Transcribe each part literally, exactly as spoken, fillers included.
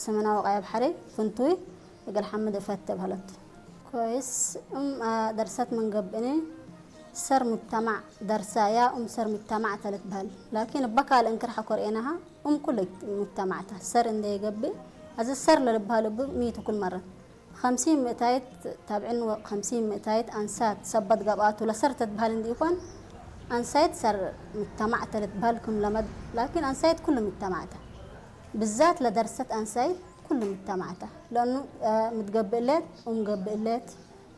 ስምና ወቃየብ ሐሬ ፍንቱይ እግል ሐምድ እፈቴ በህለት። ኮይስ፣ እም፣ አ፣ ደርሰት ምን ገብእኒ፣ ሰር ሙጅተማዕ ደርሰያ፣ እም ሰር ሙጅተማዕ ተ ልትበህል። ላኪን እበ ካልእ እንክር ሐቆ ርኤናሃ፣ እም ኩሉ ሙጅተማዕ ተ። ሰር እንዴ ይገብእ፣ አዘ ሰር ለልበህል እብ ሚ ቱ ኩል መረ። ኸምሲን ምእታይት ታብዕን ወኸምሲን ምእታይት አንሳት ሰበት ገብአቱ ለሰር ተትበህል እንዲኢኮን፣ አንሳይት ሰር ሙጅተማዕ ተ ልትበህል ክም ለመድ፣ ላኪን አንሳይት ኩሉ ሙጅተማዕ ተ። ብዛት ለደርሰት አንሳይት ኩሉ ሙጅተማዕ ተ። ለእኑ፣ አ፣ ምትገብእ ሌት፣ እም ገብእ ሌት፣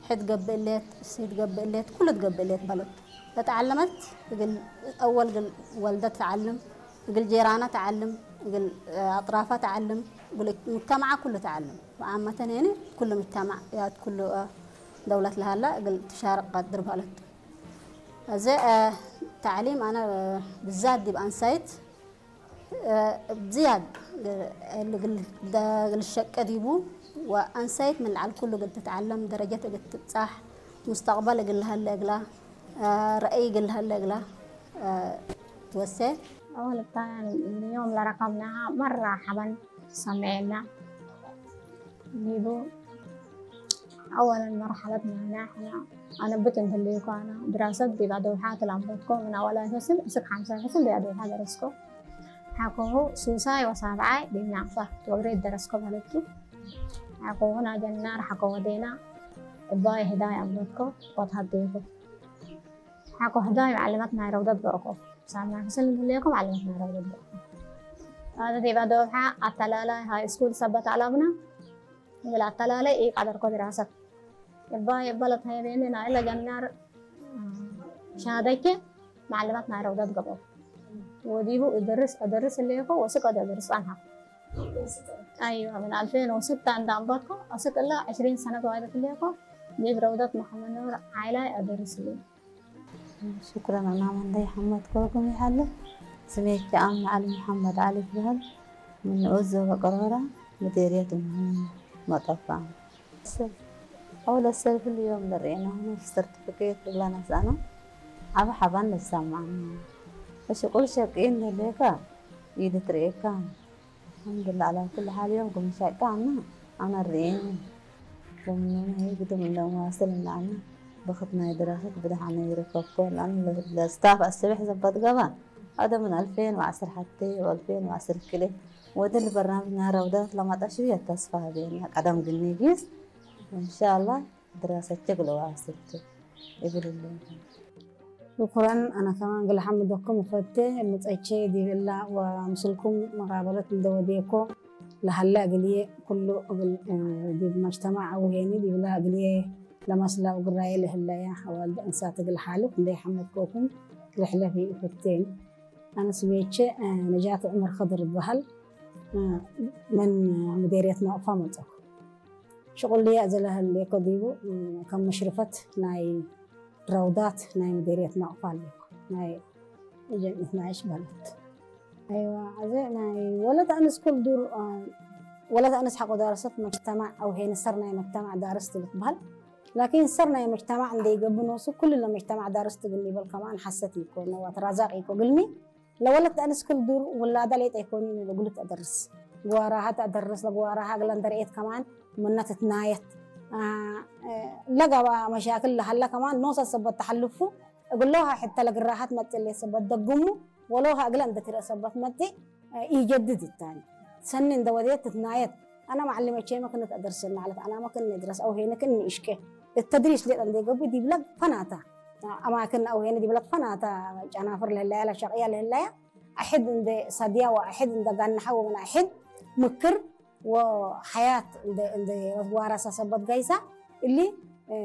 ሕድ ገብእ ሌት፣ እሲት ገብእ ሌት፣ ኩሉ ትገብእ ሌት በለት። ለተዓለመት እግል አወል እግል ወልደ ተዓልም፣ እግል ጄራና ተዓልም፣ እግል፣ አ፣ አጥራፋ ተዓልም፣ እግል ሙጅተማዓ ኩሉ ተዓልም። ወዓመተን የኒ ኩሉ ሙጅተማዕ ያት ኩሉ፣ አ፣ ደውለት ለሀላ እግል ትሻርቅ ቀድር በለት። አዜ፣ አ፣ ተዕሊም አነ፣ አ፣ ብዛት ዲብ አንሳይት እ፣ እብ ዝያድ እግል፣ እግል ሸቄ ዲቡ ወአንሳይት ምን ለዐል ኩሉ እግል ትትዐለም፣ ደረጀት እግል ትብጻሕ፣ ሙስተቅበል እግል ለሀለ እግላ፣ እ፣ ረአይ እግል ለሀለ እግላ፣ እ፣ ትወሴ። አወል እታ ዮም ለረከብናሃ መራ ሐበን ሰምዔና ዲቡ። አወለን መርሐለት ናይና ሕነ አነብት እንተ ህሌኮ አነ ድራሰት ዲብ አዶብሓ ትላምበትኮ ምን አወላይ ፈስል እስክ ሐምሳይ ፈስል ዲብ አዶብሓ ደረስኮ። ሐቆሁ ሱሳይ ወሳብዓይ ዲብ ናቅፋ ወግሬት ደረስኮ በህለት ቱ። ሐቆሁ ናጀናር ሐቆ ወዴና እባይ ህዳይ አምበትኮ ወትሀዴኮ። ሐቆ ህዳይ መዐልመት ናይ ረውደት ገርኮ። ሳምና ክስል እንተ ህሌኮ መዐልመት ናይ ረውደት ገርኮ። አነ ዲብ አዶብሓ አተላላይ ሃይ ስኩል ሰበት አላምና እግል አተላላይ ኢቀደርኮ ድራሰት። እባይ እበ ለትሀየቤኒ ናይለ ጀናር ሻደቼ መዐልመት ናይ ረውደት ገብኦ። ወዲቡ እደርስ፣ እደርስ ህሌኮ ወስክ ወደ እደርስ ጸንሐ። አይወ፣ ምን አልፌን ወስተ እንደ አንበትኮ፣ አስክ እለ ዕሽሪን ሰነት ዋይደት ህሌኮ፣ ዲብ ረውደት መሐመድ ኑር ዓይላይ አደርስ ህሌ። ሽክረን፣ አነ መንደይ ሐመድ ኮኩም ይዐለ፣ ስሜ ቻም መዐልም መሐመድ ዐሊ ትበህል፣ ምን ንኡስ ዞበ ቀሮራ፣ ምዴርየት እም መጠፋ። አውለ ሰልፍ ልዮም ለርኤናሁ ሰርቲፊኬት እግላ ነስአነ፣ ዐቢ ሐባን ለሰማዕነ። እሽቁል ሸቂ እንዴ ህሌከ ኢልትርኤካ። አልሐምዱሊላህ ዐላ ኩሊ ሓል፣ ዮም ክም ሸቂ አነ፣ አነ ርኤኒ። ክም ንመ ህይ ግድም እንዴ መዋስል እንዴ አነ፣ በክት ናይ ድራሰት ብደሐነ ይርከብኮ። ለአነ ለስታፍ አስቤሕ ዘበጥ ገብአ፣ አደ ምን አልፌን ወዐስር ሐቴ ወአልፌን ወዐስር ክልኤ ወእት እሊ በርናምጅ ናይ ረውዳት ለመጣ ሽውየ ተስፋ ሀቤነ። ቀደም ግኒ ጊስ፣ እንሻአላህ ድራሰቼ እግል ዋስል ቱ እብል እሉ። ሽኩረን፣ አነ ከማን እግል ሐምደኩም እፈቴ፣ መጸቼ ዲብ እላ ወምስልኩም መቃበለት እንዴ ወዴኮ ለሀለ እግልዬ ኩሉ እግል፣ እ፣ ዲብ መጅተማዕ አው ሄኒ ዲብላ እግልዬ ለመስላ ወግራዬ ለህለያ አዋልድ አንሳት እግል ሓልፍ እንዴ ሐመድኮኩም ልሕለፊ እፈቴን። አነ ስሜቼ፣ እ፣ ነጃት ዑመር ከድር እበሀል፣ እ፣ ምን ምዴርየት ናቅፋ መጸኩ። ሽቁልዬ አዜ ለህሌኮ ዲቡ፣ እ፣ ከም ሙሽርፈት ናይ ረውዳት ናይ ምዴርየት ናቅፋ ሌኮ፣ ናይ ጀምዕየት ናይሽ በለት። አይዋ፣ አዜ ናይ ወለት አንስ ክል ዱር፣ አ፣ ወለት አንስ ሐቆ ዳርሰት መጅተማዕ አው ሄን ሰር ናይ መጅተማዕ ዳርስ ልትበህል። ላኪን ሰር ናይ መጅተማዕ እንዴ ይገብእ ኖሱ፣ ኩሉ ለመጅተማዕ ዳርስ ትግል ይበል ከማን ሐሰት ኢኮ፣ ነዋት ራዛቅ ኢኮ። ግልሚ ለወለት አንስ ክል ዱር ውላዳ ሌጠ ኢኮኒ፣ ለጉልት አደርስ። ግዋራሃ ተአደርስ፣ ለግዋራሃ እግለ እንደ ረኤት ከማን ምነ ትትናየት። አ፣ አ፣ ለገባ መሻክል ለሀለ ከማን ኖሰ ሰበት ተሐልፉ፣ እግሎሃ ሕተ ለግራሃት መጽእ ሌሰበት ደግሙ፣ ወሎሃ እግለ እንደ ትርአ ሰበት መጽእ ኢጀድድ እታኒ። ሰኒ እንደ ወዴት ትትናየት፣ አነ መዐሊመቼመ ክነት አደርስነ ዐለት፣ አናመ ክን እድረስ አው ሄነ ክን እሽቄ። እት ተድሪስ ሌጠ እንደ ገብእ ዲብለ ፈናተ አማክን አው ሄነ ዲብለ ፈናተ ጨናፍር ለህለያ ለሸቅያ ለህለያ አሕድ እንደ ሰድያ ወአሕድ እንደ ጋንሐ ወምን አሕድ ምክር ወሐያት እንደ፣ እንደ ዋረሰ ሰበት ገይሳ እሊ፣ እ፣